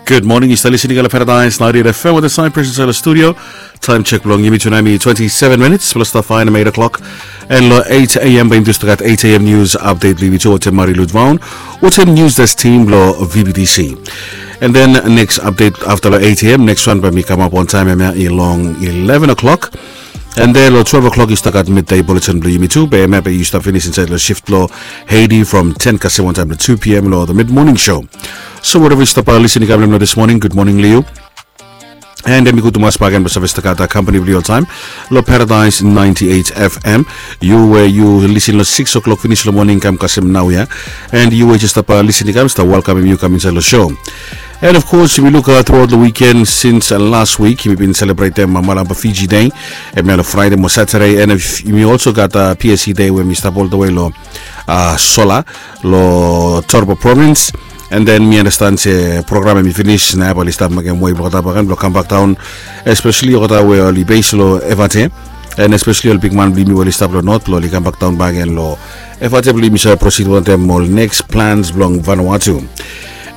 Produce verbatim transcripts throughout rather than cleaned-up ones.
Gud moning, yu stap listening long Paradise ninety-eight F M wetem Cyprus insait long studio. Taem sek blong yumi tu nao hemi twenty-seven minutes blong stap faenem eight o'clock. And long eight a.m. bae yumi tu stap gat eight a.m. news update blong yumi tu wetem Marie Ludvaun wetem news desk team blong V B T C. And then next update afta long eight a.m., next wan bae hemi kamap wantaem hemia long eleven o'clock. And then long twelve o'clock yu stap gat midday bulletin blong yumi tu, be hemia bae yu stap finis insait long shift blong Haiti from ten kasem wantaem long two p.m. long the mid morning show. So wherever yu stap listening long hemia this morning, gud moning long yu. And hemi gud tumas bakegen blong save stap gat kampani blong yu oltaem long Paradise ninety-eight F M. Yu we yu lisin long six o'clock finis long moning kam kasem naoia. And yu we jes stap listening kam, stap welkamem yu kam insait long show. And of course yumi luk throughout long weekend since last week yumi bin selebretem Malampa Fiji Day. Hemia long Friday mo Saturday, and yumi also gat PSC Day we hemi stap oltawe long Sola, long Torba Province. And then mi understand se program hemi finis, nao bae oli stap mekem wei blong olgeta bakegen blong kambak daon, especially olgeta we oli base long Efate, and especially ol bigman blong yumi we oli stap long North blong oli kambak daon bakegen long Efate blong yumi save proceed wantaem ol next plans blong Vanuatu.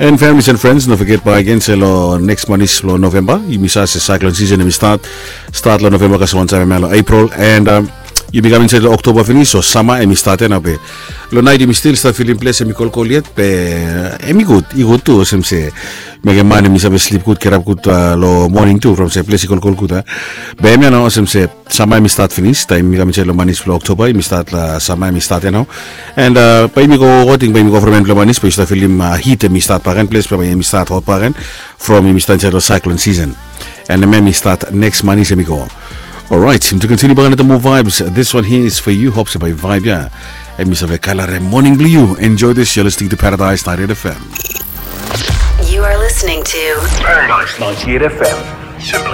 And families and friends, no foget bakegen se long next manis blong Novemba, yumi save se cyclone season hemi stat, stat long Novemba kasem wantaem hemia long April, and yumi kam insait long Oktoba finis, so sama hemi stat ia nao be. Long naet yumi stil stap filim ples hemi kolkol yet, be hemi gud, i gud tu olsem se mekem man hemi save slip gud, gerap gud long moning tu from se ples i kolkol gud a. Be hemia nao olsem se sama hemi stat finis, taem yumi kam insait long manis blong Oktoba, yumi stat long sama hemi stat ia nao. And bae yumi go, ating bae yumi go from en blong manis bae yu stap filim hit hemi stat bakegen, ples bae hemi stat hot bakegen from yumi stap insait long cyclone season. And hemia hemi stat next manis hemi go. Alright, to continue bakegen wetem more vibes, this one here is for you. Hope se bae yu vibe ia. Hemi save kalare moning blong yu. Enjoy this, you're listening to Paradise ninety-eight F M. You are listening to Paradise ninety-eight F M. Simply